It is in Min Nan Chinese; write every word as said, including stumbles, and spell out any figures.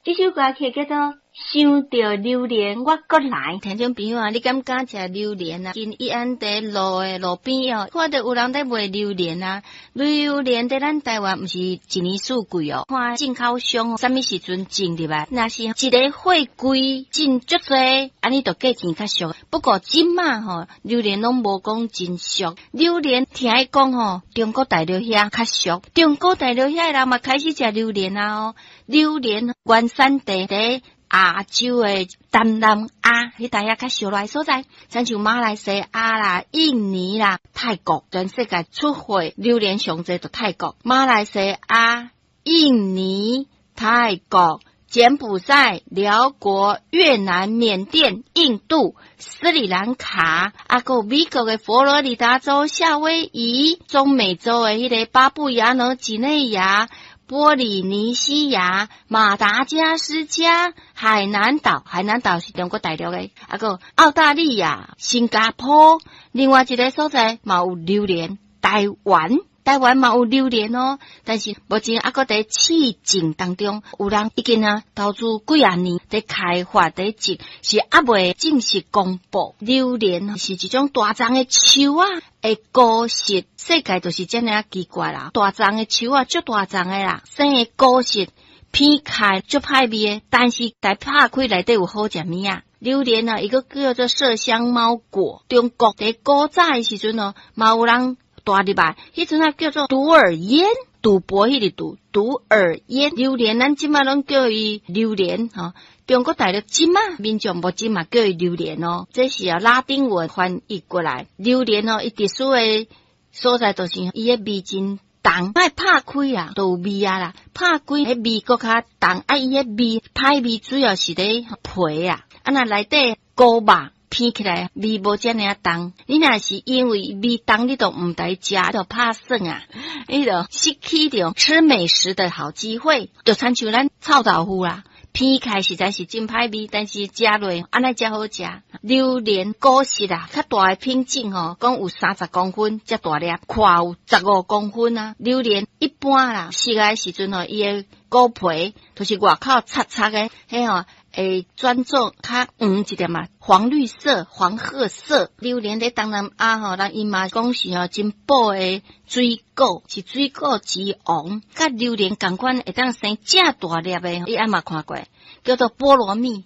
這首歌曲叫做《想著榴蓮我閣來》。聽眾朋友啊，你敢敢食榴蓮啊？近義安佇路的路邊哦，看著有人佇賣榴蓮啊。榴蓮佇咱台灣毋是一年四季哦，看進口商啥物時陣種入來，若是一个貨櫃進足濟，按呢就價錢較俗。不過這馬吼，榴蓮攏無講真俗。榴蓮聽伊講吼，中國大陸遐較俗，中國大陸遐人嘛開始食榴蓮啊哦。榴蓮原產地佇亞洲的東南亞，彼搭遐較少來所在，親像馬來西亞啦、印尼啦、泰國，全世界出貨榴蓮上濟就泰國、馬來西亞、印尼、泰國、柬埔寨、寮國、越南、緬甸、印度、斯里蘭卡，啊，閣有美國的佛羅里達州、夏威夷、中美洲的彼个巴布亞紐幾內亞、波里尼西亞、馬達加斯加、海南島，海南島是中國大陸的，啊，閣澳大利亞、新加坡，另外一个所在嘛有榴蓮，台灣。台灣嘛有榴蓮哦，但是目前猶閣佇試種當中，有人已經啊投資幾仔年佇開發佇種，是猶未正式公布。榴蓮是一種大叢的樹仔，的果實，世界就是遮爾仔奇怪啦。大叢的樹仔，足大叢的啦，生的果實片開足歹味的，但是共拍開內底有好食物仔。榴蓮啊，伊閣叫做麝香貓果。中國佇古早的時陣哦，嘛有人帶入來，彼陣啊叫做毒饵煙，賭博彼個賭，毒饵煙。榴蓮，咱這馬攏叫伊榴蓮吼。中國大陸這馬民眾目前嘛叫伊榴蓮哦，這是啊拉丁文翻譯過來。榴蓮哦，伊特殊的所在就是伊的味真重，愛拍開啊，都有味啊啦。拍開彼味閣較重，啊伊彼味歹味主要是佇皮啊，啊若內底果肉片起來味無遮爾仔重。你若是因為味重，你都毋知食，就拍算啊！你就失去著吃美食的好機會，就親像咱臭豆腐啦，片開實在是真歹味，但是食落按呢才好食。榴蓮果實啊，較大的品種吼，講有三十公分遮大粒，寬有十五公分啊。榴蓮一般啦，熟的時陣吼，伊的果皮就是外口擦擦的，彼吼會轉做較黃一點嘛，黃綠色、黃褐色。榴蓮佇東南亞吼，人伊嘛講是吼真補的水果，是水果之王。佮榴蓮仝款會當生遮大粒的，你猶嘛看過，叫做菠蘿蜜。